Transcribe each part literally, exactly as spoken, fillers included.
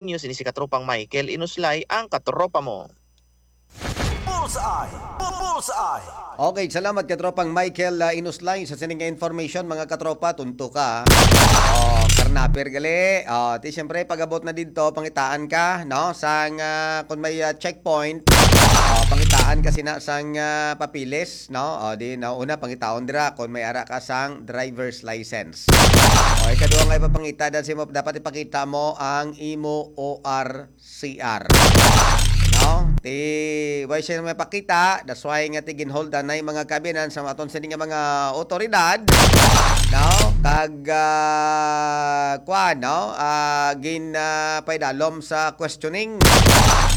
News, ini si Katropang Michael Inuslay, ang katropa mo. Bullseye! Bullseye! Okay, salamat, Katropang Michael, ah, Inuslay, sa sining nga information, mga katropa. Tunto ka. Oh, karnaper gali. Oh, ti, siyempre, pag-abot na didto, pangitaan ka, no? Sang, ah, kung may, ah, checkpoint, oh, pangitaan ka sina sang, ah, papilis, no? Oh, di, no? Una, pangitaon dira kung may ara ka sang driver's license. Oh, ikaduha nga ipapangita, da-, si mo, dapat ipakita mo ang imo O R C R. No? Ti, why siya may pakita? That's why nga ti ginholdan na yung mga kabinan sa aton sini nga mga otoridad. No? Kag, ah, kuwan, no? Ah, gin, ah, paidalom sa questioning.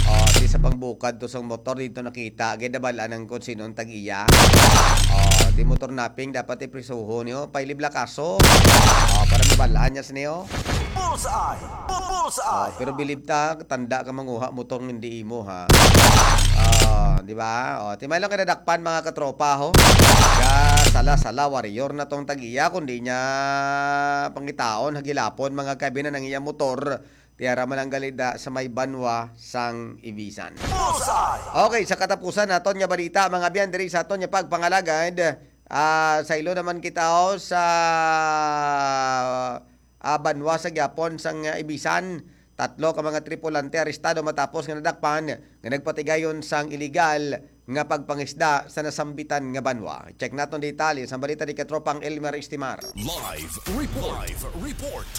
Oh, ti sa pangbukad to sa motor dito nakita. Gid nabalaan ang kung sino ang tag-iya. Oh, di motor napping, dapat iprisuho niyo. Pailib la kaso. Oh, para mabalaan niya sa niyo. Bullseye! Bullseye! Oh, pero bilib ta, tanda ka manguha motor nga hindi imo, ha. Oh, di ba? Oh, ti may lang kadadakpan, mga katropa, ho. Ka sala-sala warrior na tong tag-iya, kundi niya pangitaon, hagilapon, mga kabinan ang iya motor. Tiara man ang galida sa may banwa sang Ibisan. Bullseye! Okay, sa katapusan naton nga balita, mga biyan, diri sa aton nga pagpangalagad, ah, sa ilo naman kita, oh, sa, ah, banwa sa gyapon sang, ah, Ibisan. Tatlo ka mga tripulante arestado matapos nga nadakpan nga nagpatigayon sang iligal nga pagpangisda sa nasambitan nga banwa. Check naton detalye sa balita ni Katropang Elmer Estimar. Live report. Live report.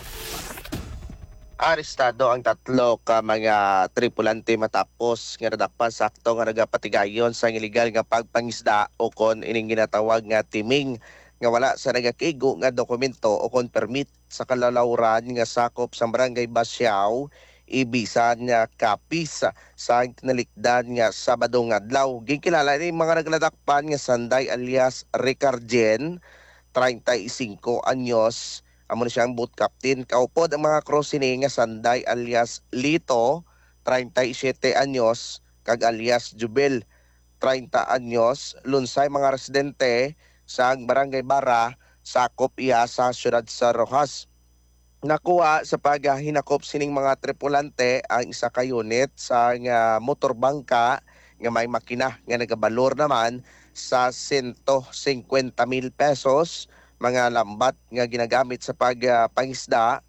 Arestado ang tatlo ka mga tripulante matapos nga nadakpan sa akto nga nagapatigayon sang iligal nga pagpangisda, o kon ining ginatawag nga timing, nga wala sa nagakigo nga dokumento o kon permit sa kalalawran nga sakop sa Barangay Basiao, Ibisan nga Capiz, sa tinalikdan nga Sabado nga adlaw. Ginkilala ni mga nagladakpan nga Sanday alias Ricarjen, treinta y cinco anyos, amo na siyang boat captain. Kaupod ang mga crew sini nga Sanday alias Lito, treinta y siete anyos, kag alias Jubel, treinta anyos, lunsay mga residente sa Barangay Bara, sakop iya sa siyudad sa Roxas. Nakuha sa paghinakop sining mga tripulante ang isa ka unit sa nga motor bangka nga may makina nga nagabalor naman sa sento singkwenta mil pesos, mga lambat nga ginagamit sa pag, ah, pangisda,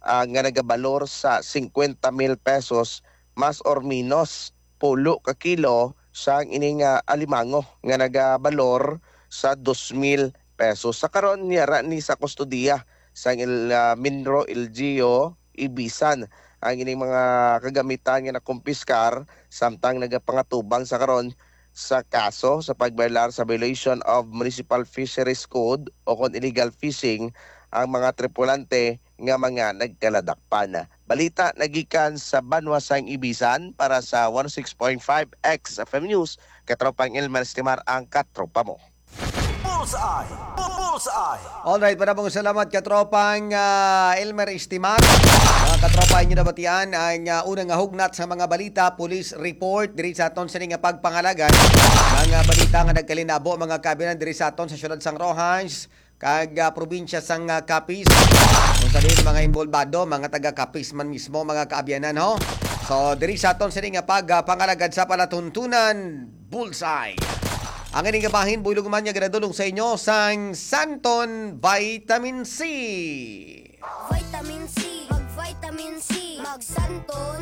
ah, nga nagabalor sa singkwenta mil pesos, mas or minus pulo ka kilo sang ining, ah, alimango nga nagabalor sa dos mil pesos. Sa karon, yara ni sa kustodiya sang il-, ah, Minro L G U Ibisan ang ining mga kagamitan nga nakumpiskar, samtang nagapangatubang sa karon sa kaso sa pagbayolar sa violation of Municipal Fisheries Code o kon illegal fishing ang mga tripulante nga mga nagkaladakpan. Balita nagikan sa banwa sang Ibisan para sa one oh six point five X F M News, Katropang Elmer Estimar ang katropa mo. Bullseye! Bullseye! Alright, para pong salamat, Katropang, ah, Elmer Estimar. Mga katropa, inyo nabatian ang, ah, unang nga hugnat sa mga balita, police report diri sa aton sini nga pagpangalagad. Mga balita nga nagkalinabo, mga kabinan, diri sa aton sa siyudad sang Roxas, kag, ah, probinsya sang, ah, Capiz. Kung sa diin mga involbado, mga taga Capiz man mismo, mga kaabyanan, ho. So, diri sa aton sini nga pag, ah, pangalagad sa palatuntunan, Bullseye. Ang ining kabahin, buylog man nga ginadulong sa inyo sang Santon Vitamin C. Vitamin C, mag-vitamin C, mag-Santon.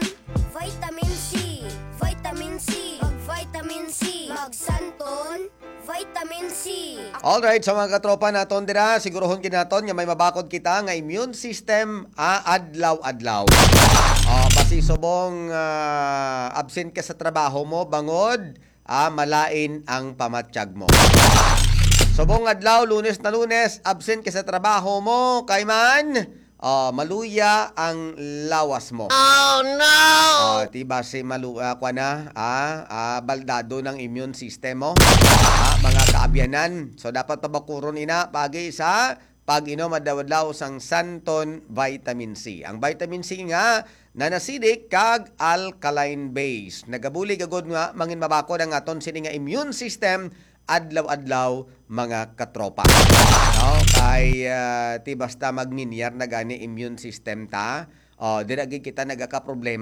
Vitamin C, vitamin C, mag-vitamin C, mag-Santon. Vitamin C. Alright, sa mga katropa naton dira, siguruhon gid naton nga may mabakod kita nga immune system, ah, adlaw-adlaw. Ah, basi subong, ah, absent ka sa trabaho mo, bangod, ah, malain ang pamatyag mo. Subong adlaw, Lunes na Lunes, absent ka sa trabaho mo, kay man, ah, maluya ang lawas mo. Oh, no! Ah, ti basi malu-, ah, kwa na, ah, ah, baldado ng immune system mo. Ah, mga kaabyanan. So, dapat pabakuron ina, pagi sa pag-inom adlaw-adlaw sang Santon Vitamin C. Ang vitamin C nga nanasidik kag alkaline base. Nagabulig agud nga mangin mabakod ang aton sini nga immune system adlaw-adlaw, mga katropa. No? Kay, ah, ti basta magninyar na gani immune system ta, Oh, dira gid kita nagakaproblema.